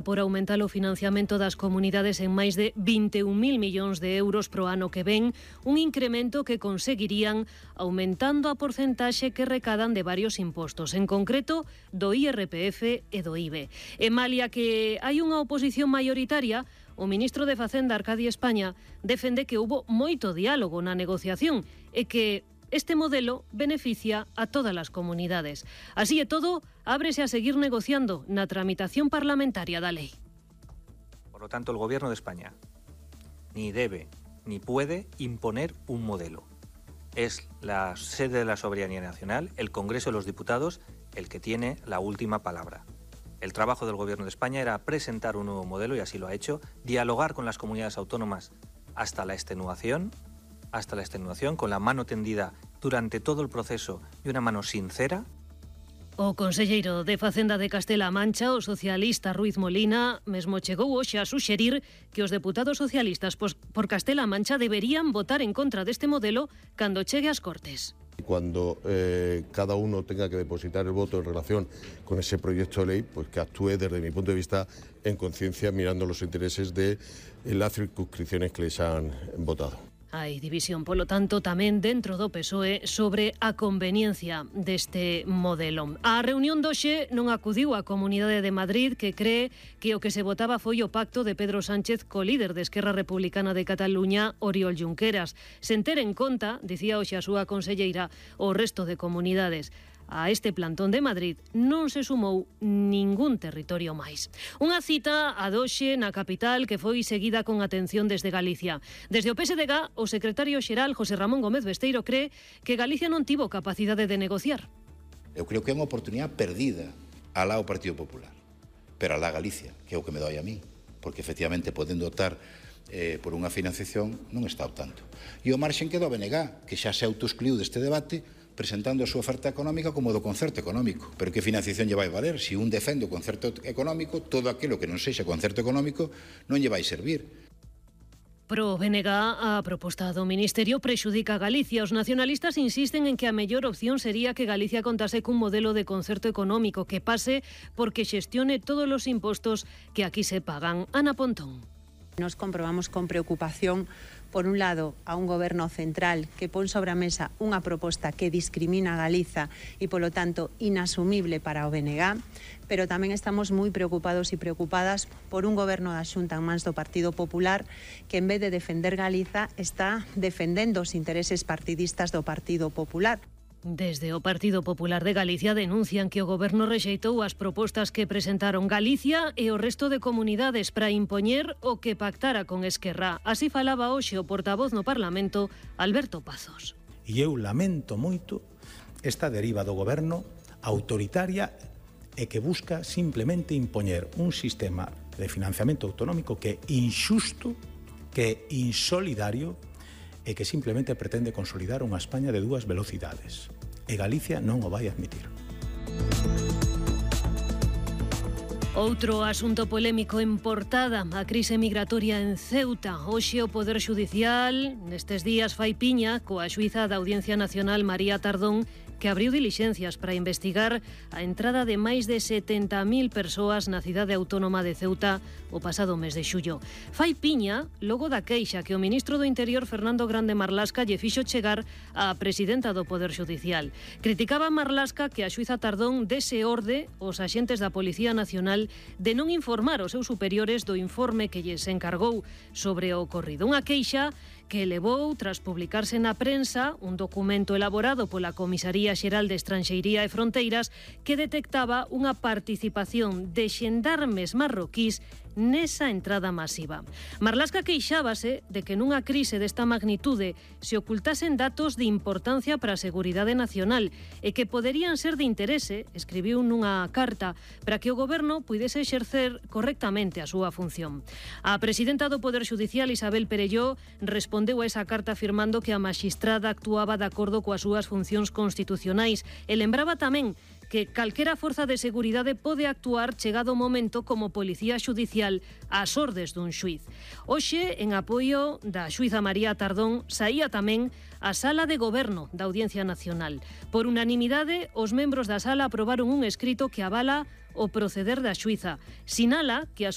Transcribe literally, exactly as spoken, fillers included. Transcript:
por aumentar o financiamento das comunidades en máis de vinte e un mil millóns de euros pro ano que ven, un incremento que conseguirían aumentando a porcentaxe que recadan de varios impostos, en concreto do I R P F e do I V E. E malia que hai unha oposición maioritaria, o ministro de Facenda, Arcadi España, defende que houbo moito diálogo na negociación e que este modelo beneficia a todas as comunidades. Así e todo, ábrese a seguir negociando na tramitación parlamentaria da lei. Por lo tanto, el Gobierno de España ni debe ni puede imponer un modelo. Es la sede de la soberanía nacional, el Congreso de los Diputados, el que tiene la última palabra. El trabajo del Gobierno de España era presentar un nuevo modelo, y así lo ha hecho, dialogar con las comunidades autónomas hasta la extenuación, hasta la extenuación, con la mano tendida durante todo el proceso y una mano sincera. O conselleiro de Facenda de Castela-A Mancha, o socialista Ruiz Molina, mesmo chegou hoxe a suxerir que os deputados socialistas por Castela-A Mancha deberían votar en contra deste modelo cando chegue ás Cortes. Cuando eh, cada uno tenga que depositar el voto en relación con ese proyecto de ley, pues que actúe desde mi punto de vista en conciencia, mirando los intereses de las circunscripciones que les han votado. Hai división, polo tanto, tamén dentro do P S O E sobre a conveniencia deste modelo. A reunión doxe non acudiu a Comunidade de Madrid, que cree que o que se votaba foi o pacto de Pedro Sánchez co líder de Esquerra Republicana de Cataluña, Oriol Junqueras. Sen ter en conta, dicía hoxe a súa conselleira, o resto de comunidades. A este plantón de Madrid non se sumou ningún territorio máis. Unha cita a doxe na capital que foi seguida con atención desde Galicia. Desde o P S D G, o secretario xeral José Ramón Gómez Besteiro cree que Galicia non tivo capacidade de negociar. Eu creo que é unha oportunidade perdida alá o Partido Popular, pero alá Galicia, que é o que me doi a mí, porque efectivamente podendo optar eh, por unha financiación non está optando. E o marxen que do B N G, que xa se autoexcluiu deste debate, presentando a súa oferta económica como do concerto económico. Pero que financiación lle vai valer? Se un defende o concerto económico, todo aquilo que non sexa concerto económico non lle vai servir. Pro B N G, a proposta do Ministerio prexudica a Galicia. Os nacionalistas insisten en que a mellor opción sería que Galicia contase cun modelo de concerto económico que pase porque xestione todos os impostos que aquí se pagan. Ana Pontón. Nos comprobamos con preocupación, por un lado, a un goberno central que pon sobre a mesa unha proposta que discrimina a Galiza e, polo tanto, inasumible para o B N G, pero tamén estamos moi preocupados e preocupadas por un goberno da Xunta en mans do Partido Popular que, en vez de defender Galiza, está defendendo os intereses partidistas do Partido Popular. Desde o Partido Popular de Galicia denuncian que o Goberno rexeitou as propostas que presentaron Galicia e o resto de comunidades para impoñer o que pactara con Esquerra. Así falaba hoxe o portavoz no Parlamento, Alberto Pazos. E eu lamento moito esta deriva do Goberno autoritaria e que busca simplemente impoñer un sistema de financiamento autonómico que é inxusto, que é insolidario e que simplemente pretende consolidar unha España de dúas velocidades. E Galicia non o vai admitir. Outro asunto polémico en portada, a crise migratoria en Ceuta. Hoxe o Poder Xudicial, nestes días, fai piña coa xuíza da Audiencia Nacional María Tardón, que abriu dilixencias para investigar a entrada de máis de setenta mil persoas na cidade autónoma de Ceuta o pasado mes de xullo. Fai piña logo da queixa que o ministro do Interior, Fernando Grande Marlasca, lle fixo chegar á presidenta do Poder Xudicial. Criticaba Marlasca que a xuíza Tardón dese orde aos axentes da Policía Nacional de non informar os seus superiores do informe que lles encargou sobre o ocorrido. Unha queixa que levou, tras publicarse na prensa, un documento elaborado pola Comisaría Xeral de Estranxeiría e Fronteiras que detectaba unha participación de xendarmes marroquís nesa entrada masiva. Marlasca queixábase de que nunha crise desta magnitude se ocultasen datos de importancia para a seguridade nacional e que poderían ser de interese, escribiu nunha carta, para que o goberno puidese exercer correctamente a súa función. A presidenta do Poder Xudicial, Isabel Perelló, respondeu a esa carta afirmando que a maxistrada actuaba de acordo coas súas funcións constitucionais e lembraba tamén que calquera forza de seguridade pode actuar chegado o momento como policía xudicial ás ordes dun xuiz. Hoxe, en apoio da xuíza María Tardón, saía tamén a Sala de Goberno da Audiencia Nacional. Por unanimidade, os membros da sala aprobaron un escrito que avala o proceder da xuíza. Sinala que a